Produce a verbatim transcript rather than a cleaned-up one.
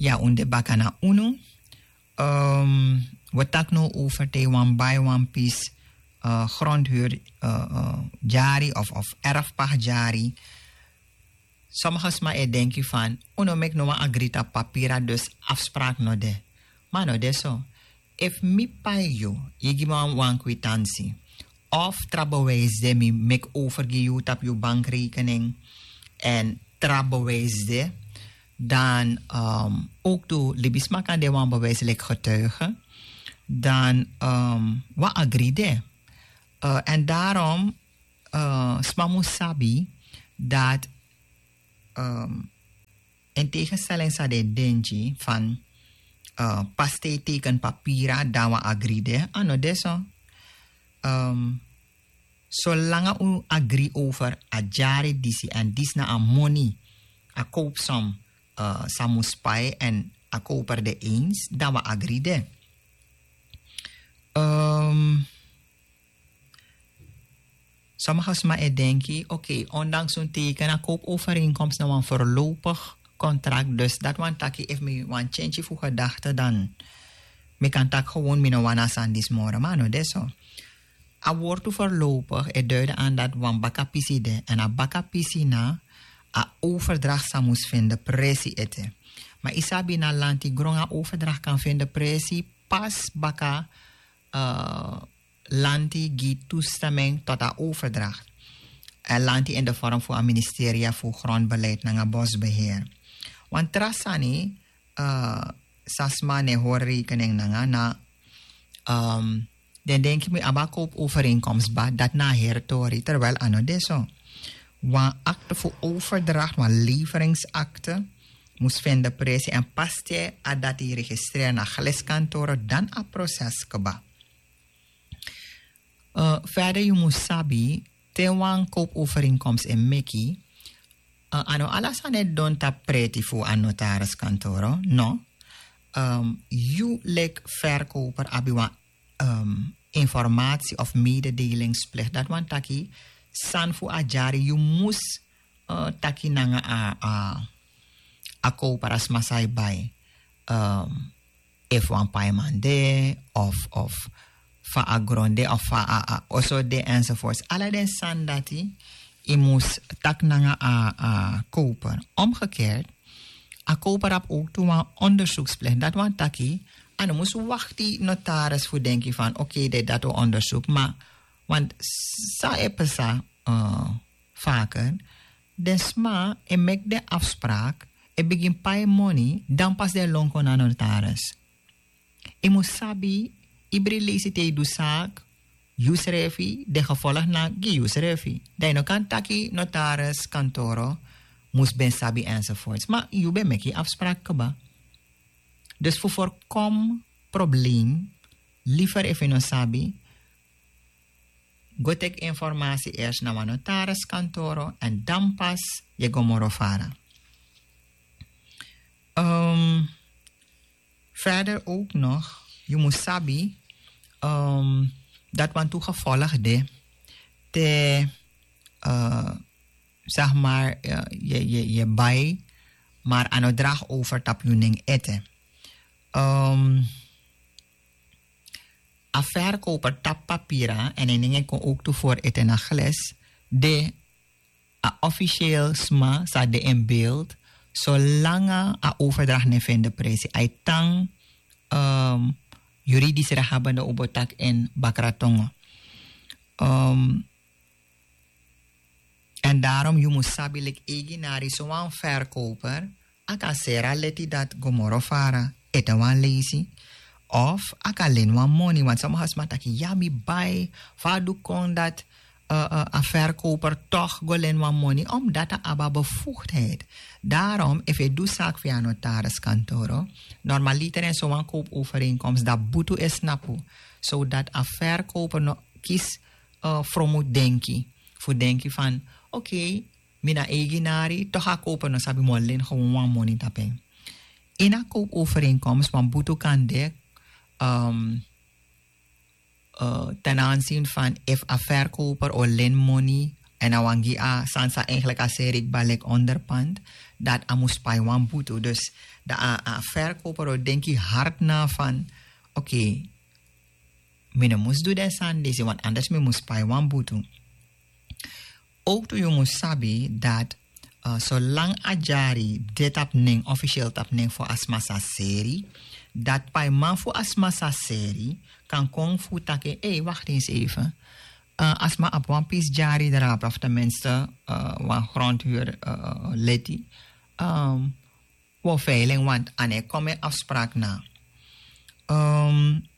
Ya, un de baka na unu. Um, we taki now over te wan bai wan pis, uh, grondhuur, uh, uh, dyari of, of erfpacht dyari. Sommige sma e denki van, un no meki no wan agri tapu papira, dus afspraak no de. Ma no de so. Efu mi pai yu, yu gi mi wan, wan kwitansi, of tra bewijs de mi meki over gi yu tapu yu bankrekening, en tra bewijs de, dan, um, ook tu libisma kan de wan bewijs leki getuige, dan, um, wan agri de. Uh, en daarom, uh, sma mus sabi dat, um, in tegenstelling sa den denki van, uh, pas te teken papira dan wan agri de, a no de so. Um, solanga un agri over a dyari disi en disi na a moni, a koopsom, uh, sa mus pai en a koper de eens, dan wan agri de. Um, Sommige sma e denki, oké, ondanks un teken a koopovereenkomst na wan voorlopig contract, dus dat wan taki efu mi wan change fu gedachte, dan mi kan taki gewoon mi no wan a sani disi moro, ma no de so. A wortu voorlopig e duiden aan dat wan baka pisi de, en a baka pisi na a overdracht sa mus vinden presi ete. Ma yu sabi na lanti gron a overdracht kan vinden presi pas baka, uh, lanti gi toestemming tot a overdracht. En lanti in de vorm fu a ministeria fu grondbeleid nanga bosbeheer. Wan tra sani, uh, sa sma no e hori rekening nanga na, um, den denki mi abi a koopovereenkomst ba, dat na a heri tori, terwijl a no de so. Wan akte fu overdracht, wan leveringsakte, mus vinden presi en pas te a dati registreer na geliskantoro, dan a proses kba. Uh, verder yu mus sabi, te wan koopovereenkomst e meki, uh, a no ala sani e don tapu preti fu a notariskantoro, no. Um, yu leki verkoper abi wan, um, informatie of mededelingsplicht. Dat wan taki san fu a dyari yu mus, uh, taki nanga a, a, a koper, a sma sa e bai. Um, efu wan paiman de, of, of fa a gron de, of fa a, a oso de, enzovoorts. Ala den sani dati, yu mus taki nanga a, a koper. Omgekeerd, a koper abi ook tu wan onderzoeksplicht. Dat wan taki, a no mus wakti notaris fu denki van, oké, de dati o onderzoek, ma, want sa e psa, uh, vaker, den sma e meki den afspraak, e bigin pai moni, dan pas den lon kon na notaris. Yu mus sabi, ibri leisi te yu du zaak, yu srefi, den gevolg na gi yu srefi. Dan yu no kan taki notaris, kantoro, mus ben sabi enzovoorts. Ma yu ben meki afspraak kba. Dus fu voorkom probleem, liever efu yu no sabi, go teki informatie eerst na wan notariskantoro en dan pas yu e go moro fara. Um, verder ook nog, yu mus sabi, um, dat wan tu gevolg de, te, uh, zeg maar, uh, yu, yu, yu bai, maar a no draag over tapu yu nen ete. Um, a verkoper tapu papira, en en nen e kon ook tu voor ete na gles, de a officieel sma sa de in beeld, solanga a overdracht ne vinden presi. A e tan, um, juridisch rechthabende obotak in Bakratongo. Um, en daarom yu mus sabi leki eigenari, so wan verkoper, a kan seri a leti dati go moro fara, ete wan leisi, of a kan leni wan moni, want sommige sma taki, ya, mi bai, fa a du kon dati, uh, uh, a verkoper toch go leni wan moni, omdat a abi a bevoegdheid. Daarom, efu yu e du zaak via notariskantoro, normaliter in so wan koopovereenkomst, dan butu e snapu, zodat a verkoper no kisi, uh, fromu denki. Fu denki van, oké, mi na eigenari, toch a koper no sabi mi o leni gewoon wan moni tapu en. Ini a koopovereenkomst wan butu kan de, um, uh, ten aanzien van efu a verkoper o leni moni En a wan gi a sani san eigenlijk a seri kba leki onderpand, dat a mus pai wan butu. Dus dan a, a verkoper o denki hard na van, oké, mi no mus du den sani disi, want anders mi mus pai wan butu. Ook tu yu mus sabi dat, uh, solang a dyari de tapu nen, officieel tapu nen fu a sma sa seri, dat paiman fu a sma sa seri kan kon fu taki: ei, wacht eens even. Uh, a sma abi wan pisi dyari drape, of tenminste, uh, wan grondhuur, uh, leti. Um, wi o veiling, want a no e kon mi en afspraak na. Um,